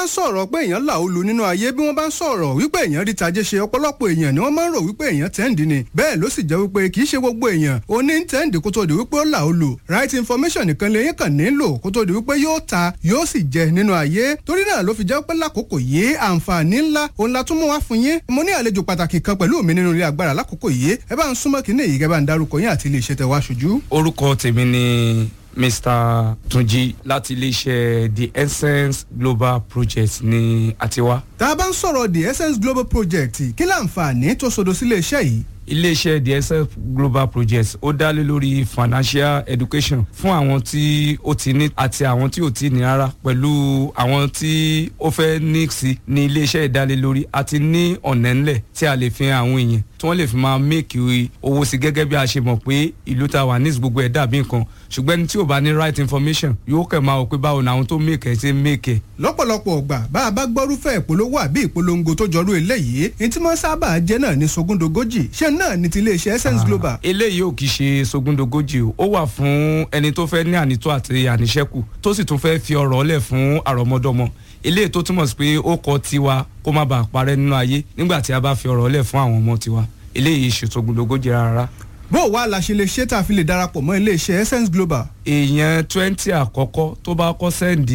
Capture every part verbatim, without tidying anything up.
Ń sọ̀rọ̀ pé èèyàn là ó lu nínú ayé, bí wọ́n bá ń sọ̀rọ̀ wípé èèyàn rí tajé ṣe, ọ̀pọ̀lọpọ̀ èèyàn ni wọ́n máa ń rò wípé èèyàn tẹ́ǹdì ni. Bẹ́ẹ̀ ló sì jẹ́ wípé kì í ṣe gbogbo èèyàn ó ní tẹ́ǹdì kó tó di wípé ó là ó lu. Right information nìkan lèyìn kàn nílò kó tó di wípé yóò ta, yóò sì jẹ nínú ayé. Torí náà ló fi jẹ́ pé lákòókò yìí, àǹfààní ńlá òun la tún mú wá fún yín. Mo ní àlejò pàtàkì kan pẹ̀lú mi nínú ilé agbára lákòókò yìí. Ẹ bá ń súnmọ́ kínní yìí, kẹ́ bá ń darúkọ yín àti ilé iṣẹ́ tẹ wá ṣojú. Orúkọ tèmi ni Mister Tunji láti iléeṣẹ́ The Essence Global Project ní àtiwá. Tá a bá ń sọ̀rọ̀ The Essence Global Project, kí láǹfààní tó sodo sílé iṣẹ́ yìí? Iléeṣẹ́ The Essence Global Project, ó dá lé lórí financial education fún àwọn tí ó ti ní àti àwọn tí ò tí ní rárá, pẹ̀lú àwọn tí ó fẹ́ ní sí ní iléeṣẹ́ ìdálélórí àti ní ọ̀nà ńlẹ̀ tí a lè fi hàn àwọn èèyàn tí wọ́n lè fi máa make owó sí. Gẹ́gẹ́ bí a ṣe mọ̀ pé ìlú ta wà ní gbogbo ẹ̀ dàbí nǹkan, ṣùgbọ́n ẹni tí ò bá ní right information yóò kẹ̀ máa wò pé báwo ni àwọn tó make ẹ̀ ṣe make ẹ̀. Lọ́pọ̀lọpọ̀ ọgbà, bá a bá gbọ́rúfẹ́ ìpolówó àbí ìpolongo tó jọrú eléyìí, ní tí wọ́n sábà jẹ́ náà ní sogúndogójì. Ṣé náà ní ti iléeṣẹ́ Essence Global? Eléyìí ò kì í ṣe sogúndogójì o. Ó wà fún ẹni tó fẹ́ ní ànító àti àníṣẹ́kù, tó sì tún fẹ́ fi ọrọ̀ lẹ̀ fún àrọ́mọdọ́mọ. Eléyìí tó túmọ̀ sí pé ó kọ tiwa kó má bàa parẹ́ nínú ayé nígbà tí a bá fi ọrọ̀ lẹ̀ fún àwọn ọmọ tiwa. Eléyìí ṣe sogúndogójì rárá. Bó o wá la ṣe lè ṣe tá a fi lè darapọ̀ mọ́ iléeṣẹ́ Essence Global? Èèyàn twenty àkọ́kọ́ tó bá kọ́ send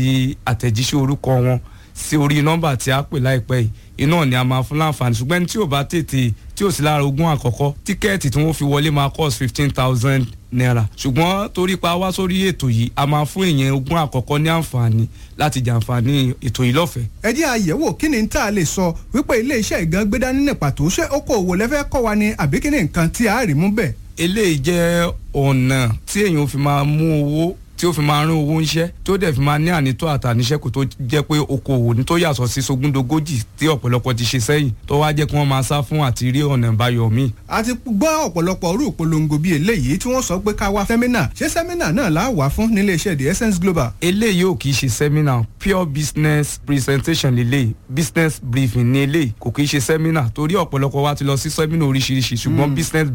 àtẹ̀jíṣẹ́ orúkọ wọn sí orí nọ́mbà tí a pè láìpẹ́ yìí, iná ni a máa fún láǹfààní. Ṣùgbọ́n ẹni tí ò bá tètè, tí ò sí lára ogún àkọ́kọ́, tíkẹ́ẹ̀tì tí wọ́n fi wọlé máa cost fifteen thousand naira. Ṣùgbọ́n torí pa wá sórí ètò yìí, a máa fún èèyàn ogún àkọ́kọ́ ní àǹfààní láti jàǹfààní ètò yìí lọ́fẹ̀ẹ́. Ẹ jẹ́ àyẹ̀wò kí ni tá a lè sọ wípé iléeṣẹ́ ìgan gbé dání ní pàtó. Ṣé okòòwò lẹ́fẹ́ kọ́ wa ni, àbí kí ni nǹkan tí a rí mú bẹ́ẹ̀? Eléyìí jẹ́ ọ̀nà tí èèyàn fi máa mú owó, tí ó fi máa rán owó ńṣẹ́, tí ó dẹ̀ fi máa ní ànító àtàníṣẹ́kù, tó jẹ́ pé okòwò ní tó yàtọ̀ sí sogúndogójì tí ọ̀pọ̀lọpọ̀ ti ṣe sẹ́yìn, tó wá jẹ́ kí wọ́n máa sá fún àti rí ọ̀nà ìbáyọ̀ míì. A ti gbọ́ ọ̀pọ̀lọpọ̀ orú ìpolongo bíi eléyìí tí wọ́n sọ pé ká wá seminar. Ṣé seminar náà la wà fún nílé iṣẹ́ The Essence Global? Eléyìí ò kì í ṣe seminar. Pure business presentation lélẹ́yìí, business briefing ní eléyìí. Kò kì í ṣe seminar, torí ọ̀pọ̀lọpọ̀ wa ti lọ sí seminar oríṣiríṣi, ṣùgbọ́n business